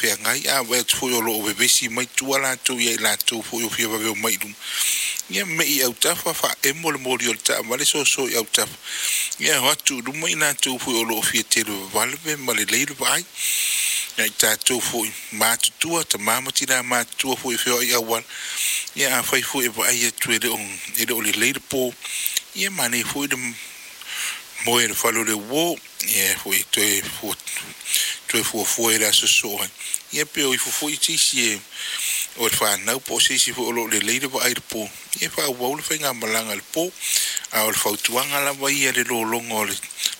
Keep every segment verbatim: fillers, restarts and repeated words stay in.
Talafeagai. A vaai atu foi o loo vevesi mai tua latou ia i latou foi o fia vave omai i luma. Ia mei i autafa, faaemo le moli o le taavale, soso i autafa, ia o atu i luma i latou foi o loo fia televavave ma lelei le vaai. Ia i tatou foi matutua, tamā ma tinā matutua foi e feoai auala, ia afai foi e vaai atu e le o e le o lelei le po, ia manaia foi le moe i le fale o le uo, ia foi toe toe fuafua i le aso sosoo ai. Ia pe o ifo foi se isi e o le fanau po o se isi foi o loo lelei le vaai i le po, ia faaauau le faigamalaga i le po. A o le fautuaga lava ia, le lologa o le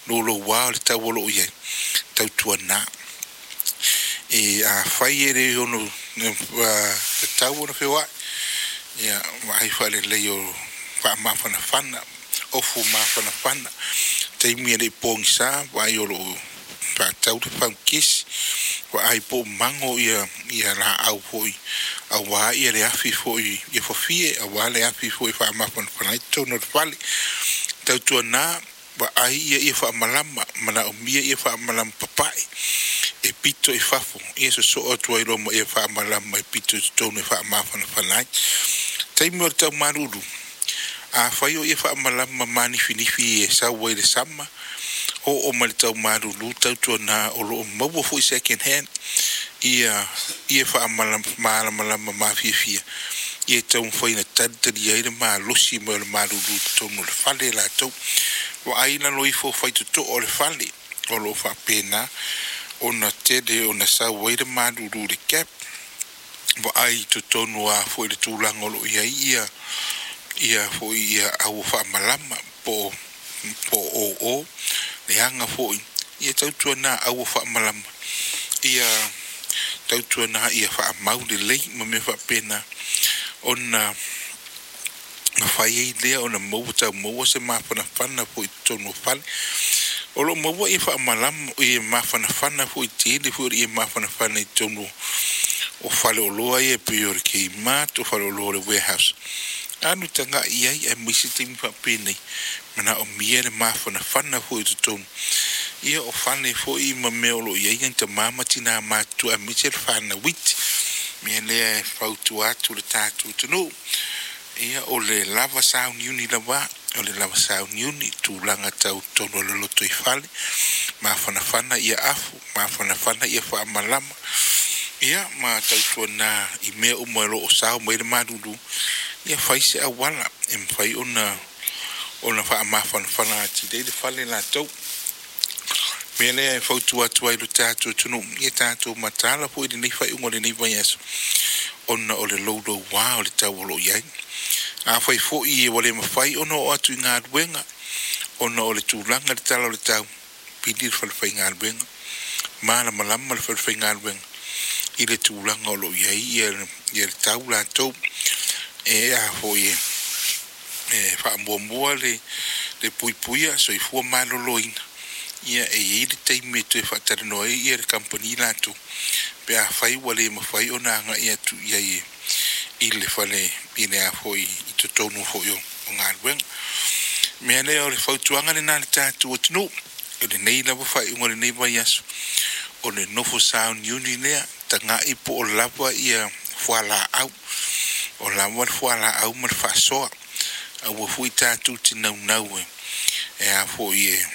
louloua o le tau o loo i ai, tautuana e afai e le ono tatau ona feoai, ia vaai faalelei o faamafanafana, ofu mafanafana taimi e lei pogisa. Vaai o loo faatau le faukesi, vaai po o mago ia ia laau foi aua ia le afi foi ia fafie, aua le afi foi faamafanafana ai totonu o le fale. Tautuana vaai ia ia faamalama manaomia, ia faamalama papae e pito i fafo, ia sosoo atu ai loa ma ia faamalama e pito i totonu e faamafanafana ai taimi o le taumalulu. Afai o ia faamalama manifinifi e sau ai le sama oo mai le taumalulu, tautuana o loo maua foi second hand ia ia faamalamalama mafiafia ia taumafai ina talitalia ai le malosi mai o le malulu i totonu o le fale latou. Vaai lalo ifo faitotoo o le fale o loo faapena ona tele ona sau ai le malulu i le gap. Vaai i totonu a foi le tulaga o loo i ai ia ia foi ia au faamalama po po o o leaga foi. Ia tautuana aua faamalama, ia tautuana ia faamau lelei ma mea faapena ona mafai ai lea ona maua tau maua se mafanafana foi i totonu o fale o loo maua ia faamalama ia mafanafana foi tele foi ia mafanafana i totonu o fale oloa ia pei o le Kmart, o fale oloa o le Warehouse. Alu tagai ai aemaise taimi faapenei manaomia le mafanafana foi i totonu ia o fale foi ma mea o loo i ai nai tamā ma tinā matutua aemaise le fanau iti. Mea lea e fautua atu le tatou atunuu, ia o le lava sauniuni lava, o le lava sauniuni tulaga tau totonu o le lotoifale, mafanafana ia afu, mafanafana ia faamalama, ia ma tautuana i mea uma o loo sao mai le malulu, ia fai se auala e mafai ona ona faamafanafana atili ai le fale latou. Mea lea e fautua atu ai lo tatou atunuu, ia tatou mataala foi lenei faaiuga o lenei vaiaso ona o le louloua o le tau o loo i ai. Afai foi ua le mafai ona oo atu i galuega ona o le tulaga i le tala o le tau, pili le falefaigaluega, malamalama le falefaigaluega i le tulaga o loo i ai ia ia le tau latou e a foi e e faamuamua le le puipuia soifua maloloina. Ia e i ai le taimi e toe faatalanoa ai ia le kamupani latou pe afai ua le mafai ona agai atu i ai i le fale i le a foi i totonu foi o galuega. Mea lea o le fautuaga lena le tatou atunuu o lenei lava faaiuga o lenei vaiaso, o le nofo sauniuni lea, tagai po o lava ia fualaau, o lava le fualaau ma le faasoa. Aua foi tatou te naunau e e a foi e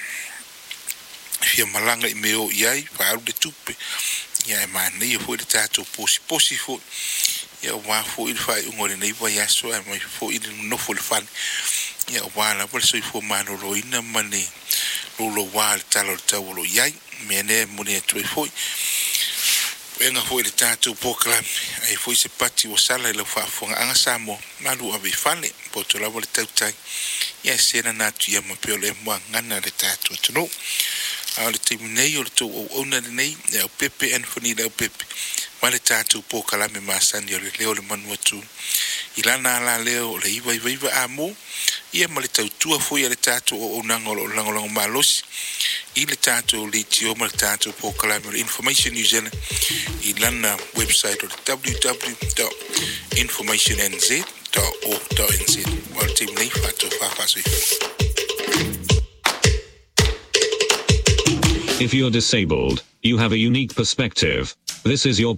fia malaga i mea o i ai faaalu le tupe. Ia e manaia foi le tatou posiposi foi ia aua foi le faaiuga o lenei vaiaso, ae mai foi le nofo i le fale ia aua lava le soifua maloloina ma le louloua le tala o le tau o lo o i ai. Mea lea e momoli atu ai foi puega foi le tatou polokalame ai foi se pati ua sala i lau faafofogaaga Samoa. Malu ave i fale poto lava le tautai ia se na atu ia ma pea o le muagana le tatou atunuu. A o le taimi nei o le tou auauna lenei e au pepe Anthony le au pepe ma le tatou polokalame masani o le leo o le manu atu i lana alaleo o le iva iva iva amo ia ma le tautua foi a le tatou auaunaga o loo lagolago malosi i le tatou leitio ma le tatou polokalame o le Information New Zealand i lana website o le w w w information n z org n z. O le taimi nei, faatofa faasoifua. If you're disabled, you have a unique perspective. This is your